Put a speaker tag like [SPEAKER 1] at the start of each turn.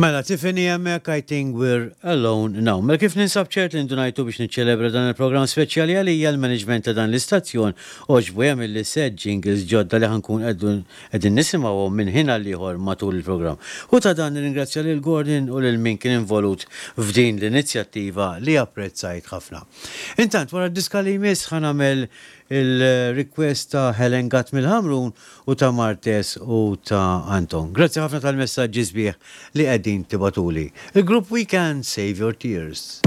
[SPEAKER 1] Mela, Tiffany hemmhekk I think we're alone now. Mela kif ninsab ċert li ndunajtu biex niċċelebra dan il-programm speċjali għalija l-management ta' dan l-istazzjon għoġbu jagħmilli set jingles ġodda li ħa nkun qegħdin nisimgħuhom minn ħin għal ieħor matul il-programm. U ta' dan nirringrazzja lil Gordon u lil min kien involut f'din l-inizjattiva li apprezzajt ħafna. Intant wara d-diska li jmiss ħa nagħmel il-request ta' Helen Gatt mill-Ħamrun u ta' Martes u ta' Anton. Grazzi ħafna tal-messaġġi sbieħ li qegħdin tibagħtuli. Il-grupp We Can Save Your Tears.